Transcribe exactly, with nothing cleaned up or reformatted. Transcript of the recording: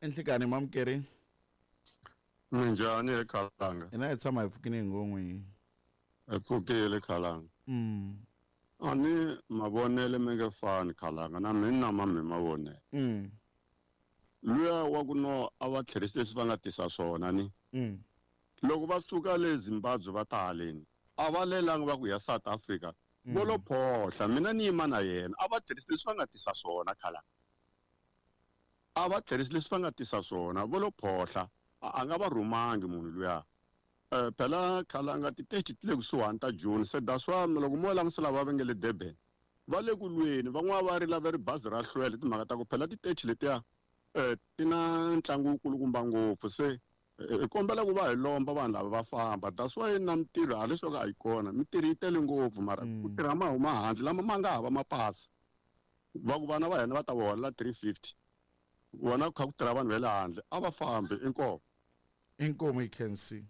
Enhlekani mamukeri. Minjhani he Khalanga? Hina hi tshama hi pfukile hi ngon'we. Hi pfukile Khalanga. Mm. A ni mavonele mi nge fani Khalanga na mina na ma mi mavonele. Mm. Luya wa ku no a va tlherisi leswi va nga tisa swona ni. Mm. Loko va suka le Zimbabwe va ta haleni a va lelanga va ku ya South Africa. Vo lo phohla mina ni yima na yena a va tlherisi leswi va nga tisa swona Khalanga. A va tlherisi leswi va nga tisa swona vo lo phohla a nga va rhumangi munhu luya. Eh phela Khalanga titeji ti le kusuhani ta June se that's why loko mo langutisa lava va nge le Durban va le ku lweni van'wana va rila va ri bazi ra hlwela timhaka ta ku phela titeji letiya eh ti na ntlangu wukulukumba ngopfu se hi kombela ku va hi lomba vanhu lava va famba that's why na mintirho a leswaku a yi kona mintirho yi tele ngopfu mara ku tirha ma huma handle lama ma nga hava mapasi va ku vana va hina va ta va holela three fifty vona ku kha ku tirha vanhu va le handle a va fambi inkomu Inkomu yi khensi.